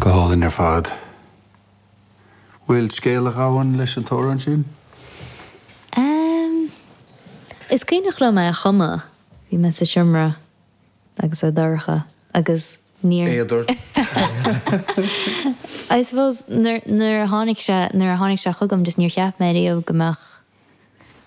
Go hálainn ar fad. Bhfuil scéal a ghabhann leis an t-amhrán sin? Ehm, is cuimhneach liom é a chumadh. Bhí mé sa seomra agus é dorcha agus níor. Éad ort. I suppose nuair, nuair a tháinig sé, nuair a tháinig sé chugam just níor cheap mé riamh go mbeadh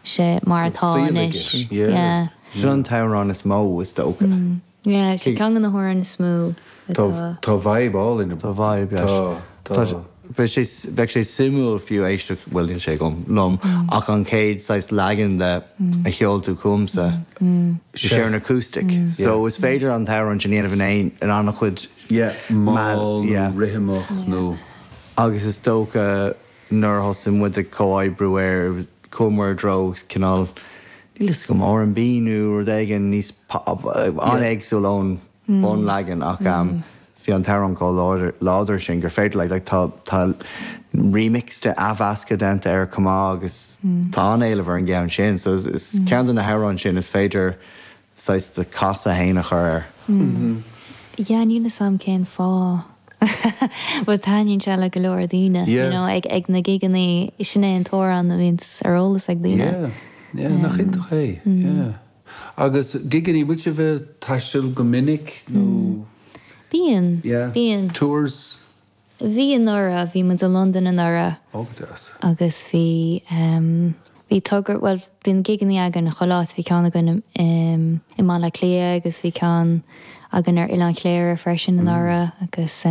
sé mar atá anois. Yeah. Sin an t-amhrán is mó, is dócha. Yeah, sin ceann de na hamhráin is mó atá. Tá vibe álainn. Tá vibe, yeah. Tá, tá. Bheadh sé, bheadh sé suimiúil fiú éisteacht, bhuel níl sé agam, liom, ach an chéad saghas leagan de a sheol tú chugamsa, sé ar an acoustic. So is féidir an t-amhrán sin a dhéanamh in aon, in an-chuid. Yeah, mall nó rithimeach nó. Agus is dócha Nuair a thosaigh muid ag comhoibriú air, chuamar i dtreo cineál, níl fhios agam, R&B nó rud éigin níos an-éagsúil ón bunleagan ach bhí an t-amhrán chomh láidir sin gur féidir like, like tá tá remix de athmheascadh déanta air chomh maith agus tá an-éileamh ar an gceann sin so is ceann de na hamhráin sin is féidir saghas do chasadh fhéin a chur air. Yeah, níl fhios a'm cén fáth but taitníonn sé le go leor daoine, you know, ag ag na gigeannaí, sin é an t-amhrán a bhíonns ar eolas ag daoine. Yeah, yeah, nach iontach é, yeah. Agus gigeannaí, bhfuil sibh ag taisteal go minic nó? Bíonn, bíonn. Tours? Bhí anuraidh, bhí muid i Londain anuraidh. Ó, go deas. Agus bhí, bhí togra, bhuel, bíonn gigeannaí againn chuile áit, bhí ceann againn i mBaile Átha Cliath agus bhí ceann againn ar Oileán Chléire freisin anuraidh agus i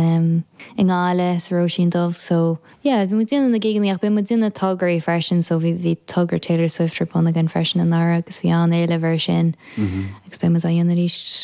nGaillimh, sa Róisín Dubh, so yeah, bhí muid ag déanamh na gigeannaí ach bíonn muid ag déanamh tograí freisin so bhí, bhí togra Taylor Swift ar bun againn freisin anuraidh agus bhí an-éileamh air sin agus beidh muid á dhéanamh arís.